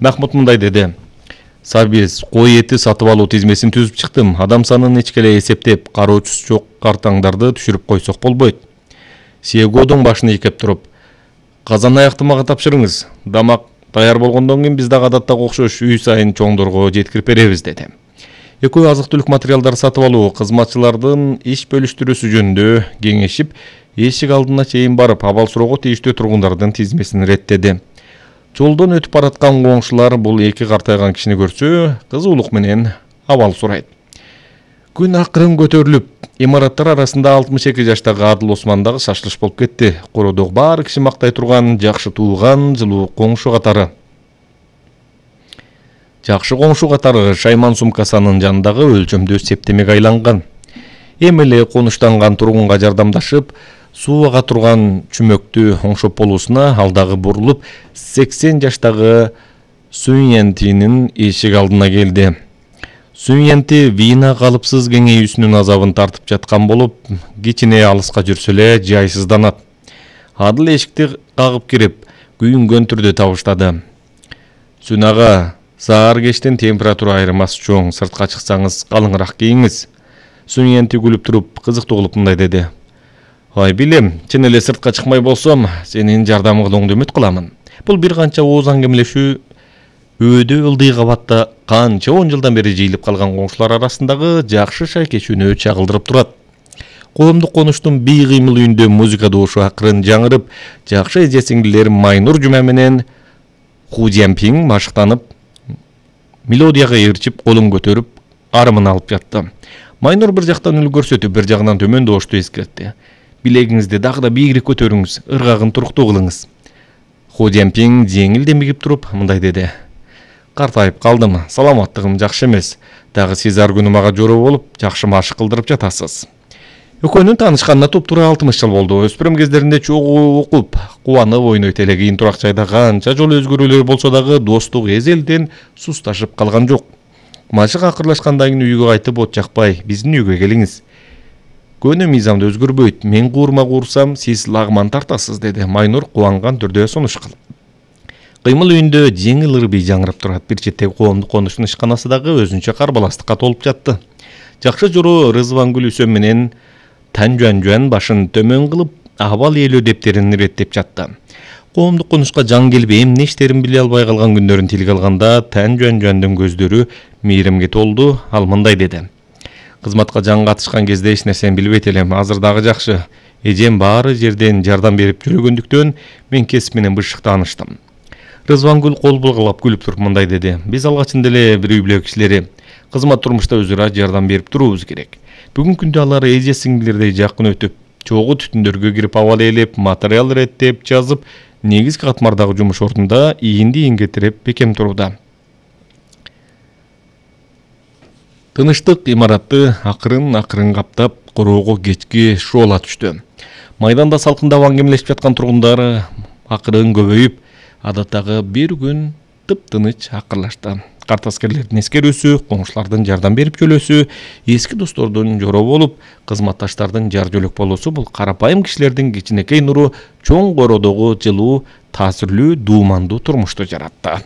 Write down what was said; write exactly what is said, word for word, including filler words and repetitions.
Махмут мындай деди. Сабиз кой эти сатып алуу тизмесин түзүп чыктым. Адам санын эч келе эсептеп, кароочусу жок картаңдарды түшүрүп койсок болбойт. Сиегодун башын ийкеп туруп, казан аякты мага тапшырыңыз. Дамак даяр болгондон кийин биз дагы адаттагы окшош үй сайын чоңдорго жеткирип беребиз деди. Экөө азык-түлүк материалдар сатып алуу кызматчылардын иш бөлүштүрүүсү жөнүндө кеңешип, эшик алдына чейин барып, абал суроого тийиштүү тургундардын тизмесин реттеди. Жолдон өтүп бараткан коңшулар бул эки картайган кишини көрсө, кызуулук менен абал сурайт. Күн акырын көтөрүлүп, имараттар арасында алтымыш эки жаштагы Адыл Осман дагы шашылыш болуп кетти. Кородогу баары киши мактай турган жакшы тууган, жылуу коңшу катары. Жакшы коңшу катары Шайман сумкасанын жанындагы өлчөмдүү септемеге айланган. Эми эле конуштанган тургунга жардамдашып, суу ага турган чүмөктү оңшоп болуусуна алдагы бурулуп, сексен жаштагы Сүйентинин эшик алдына келди. Сүйенти вина калыпсыз кеңейүүсүнүн азабын тартып жаткан болуп, кичине алыска жүрсө эле жайсызданат. Адыл эшикти кагып кирип, күйүнгөн түрдө табыштады. Сүнага, саар кештин температура айырмасы чоң, сыртка чыксаңыз калыңыраак кийиңиз. Сүйенти күлүп туруп, кызыктуу кылып мындай деди. Ай билем, чын эле сыртка чыкмай болсом, сенин жардамыңды үмүт кыламын. Бул бир канча ооз аңгемелешүү өөдө ылдый кабатта канча он жылдан бери жыйылып калган коңшулар арасындагы жакшы шайкешүүнү чагылдырып турат. Коомдук конуштун бий кыймыл үйүндө музыка доошу акырын жаңырып, жакшы эже сиңдилер Майнур Жума менен Ху Жампинг машыктанып, мелодияга ээрчип, колун көтөрүп, арымын алып жатты. Майнур бир жактан үл көрсөтүп, бир жагынан төмөн доошту эскертти. Билегиңизди дагы да бийигирээк көтөрүңүз, ыргагын туруктуу кылыңыз. Ху Жампинг жеңил демигип туруп мындай деди. Картайып калдым, саламаттыгым жакшы эмес. Дагы сиз ар күнү мага жороо болуп, жакшы машык кылдырып жатасыз. Экөөнүн таанышканына туп-туура алтымыш жыл болду. Өспүрүм кездеринде чогуу окуп, кубанып ойнойт эле. Кийин турак жайда канча жолу өзгөрүүлөр болсо дагы достук эзелден сусташып калган жок. Машык акырлашкандан кийин үйгө кайтып от жакпай, биздин үйгө келиңиз. Көнү мыйзамды өзгөрбөйт. Мен куурма куурсам, сиз лагман тартасыз, деди Майнур кубанган түрдө сунуш кылып. Кыймыл үйүндө жеңил ырбий жаңырып турат. Бир четтеги коомдук конуштун ишканасы дагы өзүнчө карбаластыкка толуп жатты. Жакшы жороо Рызвангүл Үсөм менен Тан Жуан башын төмөн кылып, абал ээлөө дептерин иреттеп жатты. Коомдук конушка жан келип, эмне иштерин биле албай калган күндөрүн тилге алганда Тан Жуандын көздөрү мейримге толду. Ал мындай деди. Кызматка жан катышкан кезде эч нерсени билбейт элем. Азыр дагы жакшы. Эжем баары жерден жардам берип жүргөндүктөн мен кесип менен бышык тааныштым. Рызвангүл кол булгалап күлүп туруп мындай деди. Биз алгачында эле бир үй бүлө кишилери кызмат турмушта өз ара жардам берип туруубуз керек. Бүгүнкү күндө алар эже сиңдилердей жакын өтүп, чогуу түтүндөргө кирип абал ээлеп, материал иреттеп, жазып, негизги катмардагы жумуш ордунда ийинди ийинге тиреп бекем турууда. Тыныштык имаратты акырын-акырын каптап, короого кечки шоола түштү. Майданда салкындап аңгемелешип жаткан тургундар акырын көбөйүп, адаттагы бир күн тып-тыныч акырлашты. Карт аскерлердин эскерүүсү, коңшулардын жардам берип жөлөөсү, эски достордун жороо болуп, кызматташтардын жар жөлөк болуусу бул карапайым кишилердин кичинекей нуру чоң кородогу жылуу, таасирлүү, дуумандуу турмушту жаратты.